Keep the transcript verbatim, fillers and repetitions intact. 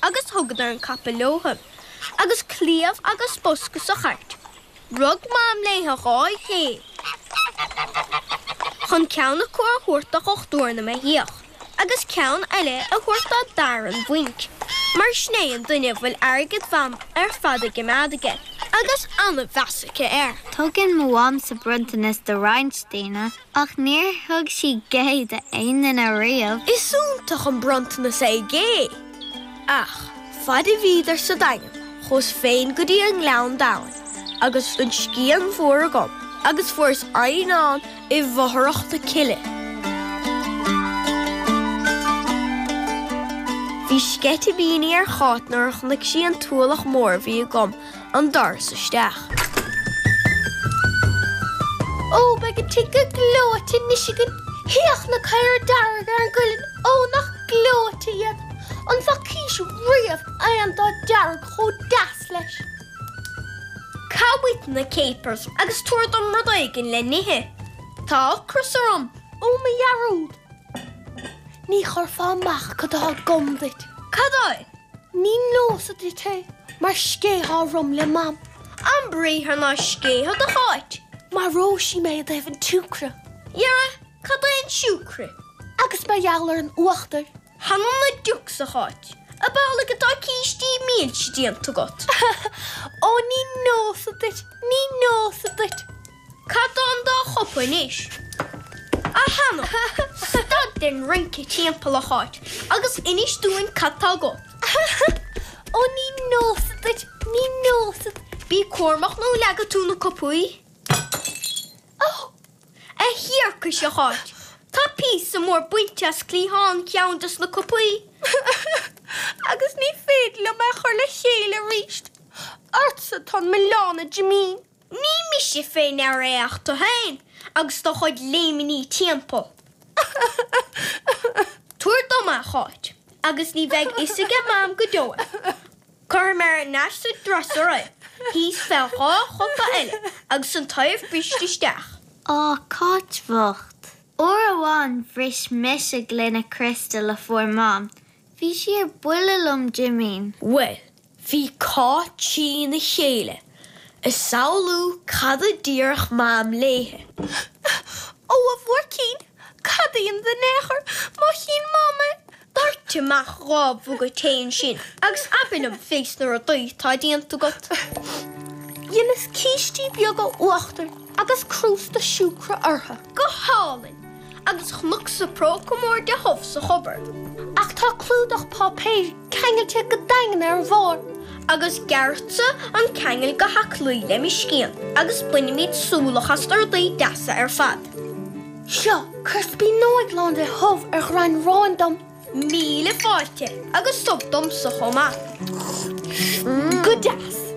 agus thugadar an capall leothu, agus cliabh agus bosca sa chairt. Rug Mam léithe dhá ghé chun ceann acu a thabhairt do dhochtúir na mbeithíoch, agus ceann eile a thabhairt dá d'fhear an bhainc, mar sin é an duine a bhfuil airgead Mham ar fad á choimeád aige, agus an-mheas aici air. Tugann mo mhamsa bronntanas do roinnt daoine, ach níor thug sí gé d'aon duine riamh. Is iontach an bronntanas é gé. Ach fad a bhíodar sa Daingean, chuas féin go dtí an Gleann Domhain, agus an scian mhór agam, agus fuaireas eidhneán i bhfothrach na cille. Bhí sceitimíní ar Cháit nuair a chonaic sí an t-ualach mór a bhí agam an doras isteach. Ó, beidh an tigh go gleoite anois againn. Féach na caora dearga ar an gcuileann, ó nach gleoite iad. An bhfacaís riamh aon dath dearg chomh deas leis? Cá bhfuil na capers agus tabhair dom rud éigin le n-ithe. Tá ocras orm. Ó mo dhearúd. Ní chuirfeá amach cad atá agam duit. Cad é? Ní neosad duit é, mar scéitheá orm le Mam. Ambriathar ná scéitheadh a Cháit. Maróidh sí mé i dtaobh an tsiúcra. Dhera, cad é an siúcra? Agus mar gheall ar an uachtar. Th'anam 'na diucs, a Cháit. Ab amhlaidh atá cístí milse déanta agat? Ó ní neosad duit, ní neosad duit. Cad tá an dá chupa anois? A th'anam, stad den rince timpeall, a Cháit, agus inis dúinn cad tá agat. Ó ní neosad duit, ní neosad. Bí cúramach nó leagfaidh tú na cupaí. Ó! A thiarcais, a Cháit, tá píosa mór bainte as cliathán ceann de na cupaí. Agus ní féidir liom é a chur le chéile arís. Ortsa atá an milleán, a Jimín. Ní mise fé ndear é ach tú féin agus do chuid léimní timpeall. Tabhair dom é, a Cháit, agus ní bheidh fhios aige Mam go deo é. Cuirfidh mé ar ais sa dresser é, thíos fé dhá chupa eile agus an taobh briste isteach. Á, Cáit bhocht. Uair amháin bhris mise gloine criostail a fuair Mam. Bhí sí ar buile liom, Jimín. Well, bhí Cáit trína chéile, ag samhlú cad a déarfadh Mam léithe. Ó a bhuaircín, cad a dhéanfad in aon chor má chíonn Mam é? Doirt amach dhá mhuga tae ansin agus abair liom fés na rudaí atá déanta agat. Dheineas cístí beaga uachtair agus crústa siúcra orthu. Go hálainn, agus chonacsa próca mór de shubh sa chupboard. Ach tá clúdach páipéir ceangailte go daingean ar an bharr. Agus gearrfadsa an ceangal go haclaí le mo scian agus bainfimid súlach as na rudaí deasa ar fad. Seo, cuir spíonóig lán de shubh ar ghrain aráin dom. Míle fáilte agus subh domsa chomh maith. Go deas.